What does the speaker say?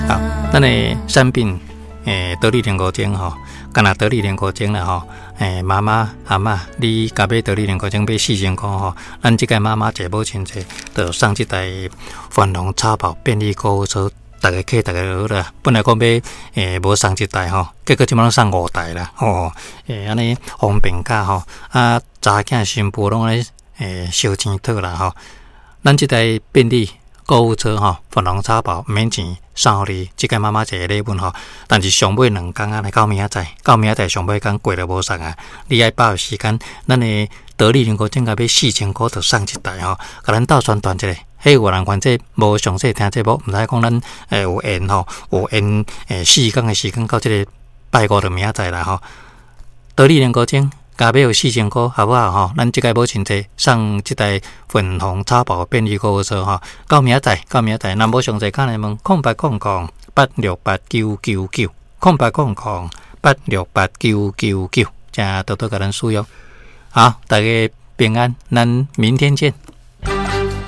好，咱的產品得力練功精吼，干焦得力練功精啦吼。媽媽阿嬤，你共買得力練功精買4000箍吼，咱這屆媽媽節母親節，就送這台粉紅草寶便利購物車，逐家客逐家好啦。本來講欲無送一台吼，結果這擺攏送五台啦吼。按呢方便較吼，啊，查囝新婦攏按呢燒錢套啦吼。咱這台便利購物車吼，粉紅草寶毋免錢送予你，這屆媽媽節的禮物吼。但是上尾兩工啊，來到明仔載，到明仔載上尾工過就無送啊。你愛把握時間，咱的得力練功精共買4000箍就送一台吼，共咱鬥宣傳一下。彼有人反正無詳細聽節目，毋知講咱有緣吼，有緣4工的時間到這个拜五就明仔載啦吼。得力練功精。共買有4000箍，好無好吼？咱這屆母親節送這台粉紅草寶便利購物車吼，到明仔載，到明仔載，若無詳細，敲來問0800868999，0800868999，請多多共咱使用。好，大家平安，咱明天見。